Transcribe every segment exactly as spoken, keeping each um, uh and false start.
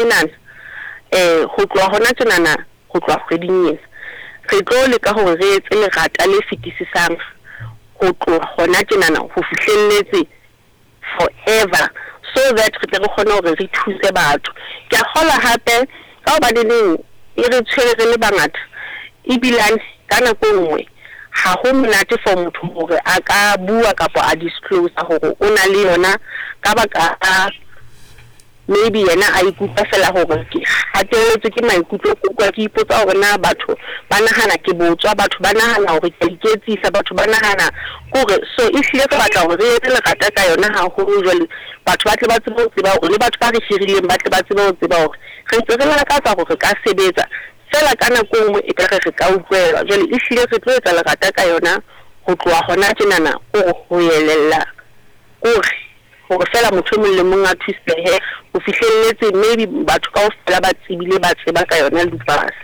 Tjenana um ho tloha hona tjenana, ho tloha kgweding ena re tlo leka hore re etse lerata le fetisisang ho tloha hona tjenana ho fihlelletse forever, so that re tle re kgone hore re thuse batho. Ke a kgolwa hape ka hobaneneng e re tshwere re le bangata, ebilane ka nako e nngwe ha ho monate for motho hore a ka bua kapa a disclose hore o na le yona, ka baka la maybe yena a ikutlwa fela hore ke hatelletswe ke maikutlo, ke utlwa ke ipotsa hore na batho ba nahana ke botswa, batho ba nahana hore ke a iketsisa, batho ba nahana kore. So ehlile re batla hore re etse lerata ka yona haholo jwale, batho ba tle ba tsebe ho tseba hore le batho ba re hirileng ba tle ba tsebe ho tseba hore re ntse re lakatsa hore re ka sebetsa fela ka nako e nngwe e ka re re ka utlwelwa. Jwale ehlile re tlo etsa lerata ka yona ho tloha hona tjenana, kore ho elella kore hore fela motho e mong le mong a thusehe ho fihlelletse, maybe batho kaofela ba tsebile ba tseba ka yona lupus.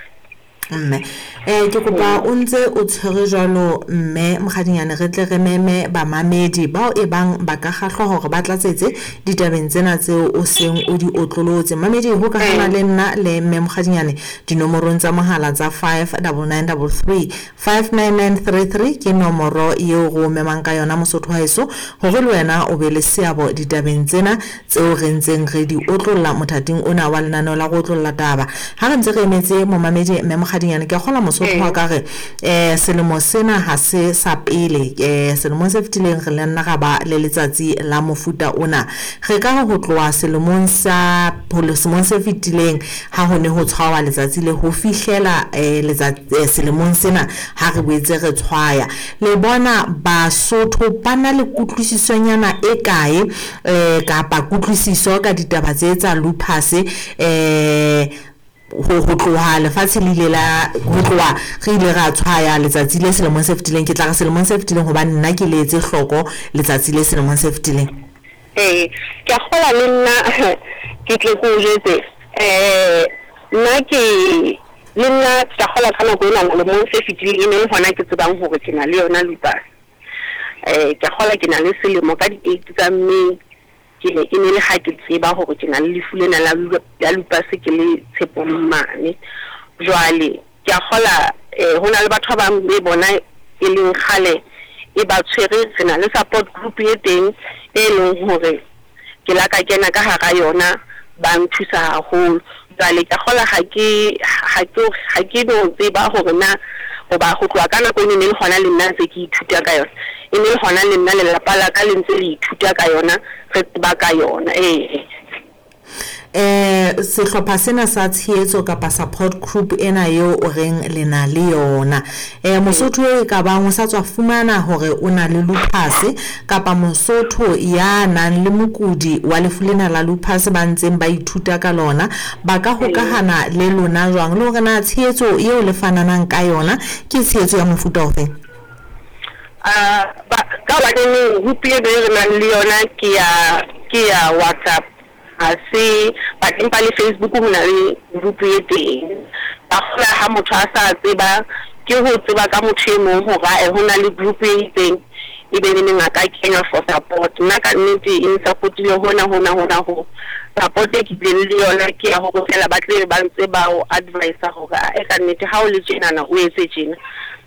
Mme eh ke kopa o ntse o tshwere jwalo mme Mokgadinyane, re tle re meme bamamedi bao e bang ba ka kgahlwa hore ba tlatsetse ditabeng tsena tseo o seng o di otlolotse. Mamedi, hokahana le nna le mme Mokgadinyane dinomorong tsa mohala tsa five double nine double three five nine nine three three ke nomoro eo re o memang ka yona Mosotho wa heso, hore le wena o be le seabo ditabeng tsena tseo re ntseng re di otlolla mothating ona wa lenaneo la go otlolla taba. Ha re ntse re emetse momamedi mme Mokgadinyane, ke a kgolwa Mosotho wa ka re eh selemo sena ha se sa pele, eh selemong se fetileng re le nna ra ba le letsatsi la mofuta ona. Re ka re ho tloha selemong sa selemong se fetileng ha ho ne ho tshwawa letsatsi le ho fihlela eh letsatsi selemong sena ha re boetse re tshwaya, le bona Basotho ba na le kutlwisisonyana e kae eh kapa kutlwisiso ka ditaba tse tsa lupus eh ho ho tloha lefatshe le ile la ho tloha re ile ra tshwaya letsatsi le selemong se fetileng. Ke tla re selemong se fetileng hobane nna ke le etse hloko letsatsi le selemong se fetileng. Ee, ke a kgolwa le nna ke tle ke o jwetse, um nna ke le nna ke a kgolwa ka nako ena lemong se fetileng e ne le hona ke tsebang hore ke na le yona lupus. Um ke a kgolwa ke na le selemo ka di-eight tsa May, ke ne e ne le ha ke tseba hore ke na le lefu lena la la lupus ke le Tshepong mane. Jwale ke a kgolwa um ho na le batho ba bang be bona e leng kgale e ba tshwere, re na le support group e teng e leng hore ke la ka kena ka hara yona, ba nthusa haholo. Jwale ke a kgolwa ha ke ha ke ha ke no tseba hore na hoba ho tloha ka nako eno e ne le hona le nna ntse ke ithuta ka yona, e ne le hona le nna lelapa la ka le ntse le ithuta ka yona, re tseba ka yona. Ee. Eh sehlopha sena sa tshehetso kapa support group ena eo o reng le na le yona, eh Mosotho e ka bang o sa tswa fumana hore o na le lupus kapa Mosotho ya nang le mokudi wa lefu lena la lupus ba ntseng ba ithuta ka lona, ba ka hokahana le lona jwang, le hore na tshehetso eo le fananang ka yona ke tshehetso ya mofuta ofeng? Ah, ba ka hobaneneng group e be re nang le yona ke ya ke ya WhatsApp, ha se but empa le Facebook ho na le group e teng. Ba kgola ha motho a sa tseba ke ho tseba ka motho e mong hore ae ho na le group e itseng, e be neneng a ka kenya for support. Nna ka nnete e n-support-ile hona hona hona ho support e ke bileng le yona ke ya hore fela ba tle ba ntse ba o advise hore ae ka nnete ha o le tjenana o etse tjena,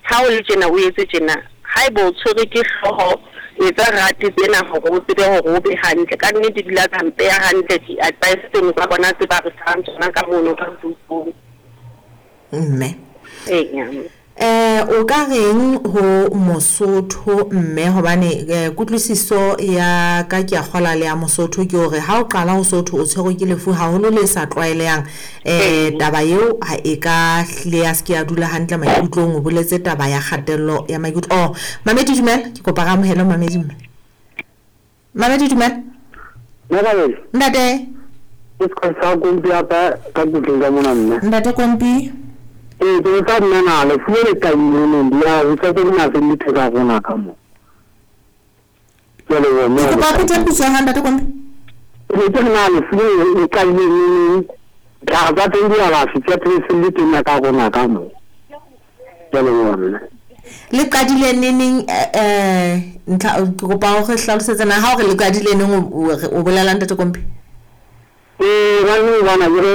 ha o le tjena o etse tjena, haeba o tshwerwe ke hlooho etsa rate tsena hore o tsebe hore o be hantle. Ka nnete di la tsa mpeha hantle di-advice tseno tsa bona tse ba re fang tsona ka mono ka group-ong. Mme Eya. Eh o ka reng ho Mosotho mme, hobane eh, kutlwisiso ya ka ke a kgola le ya Mosotho ke hore ha o qala ho Sotho o tshwerwe ke lefu haholo le sa tlwaelehang, eh taba eo ha e ka hlile ya se ke ya dula hantle maikutlong. O boletse taba ya kgatello ya maikutlo. Oh Mamedi dumela, ke kopa re amohele Mamedi mme. Mamedi dumela. Ntate. Ke sa Kompi apa ka kutleng ka mona mme. Ntate Kompi. Ee, ke tsa nna na lefu le le qadileng di a ho tsa tse dingata di theka rona ka mo. Ke a leboha mme. Ke kopa o phete potso ya hao ntate Kompi. Ke ke na lefu le le qadileng ditlhare tsa teng di alafi tsa teng se le teng ka rona ka mo. Ke a leboha mme. Le qadile neneng eh ntlha ke kopa o re hlalosetse na ha o re le qadile neng o o bolela ntate Kompi? Ee, ba ne bana ke re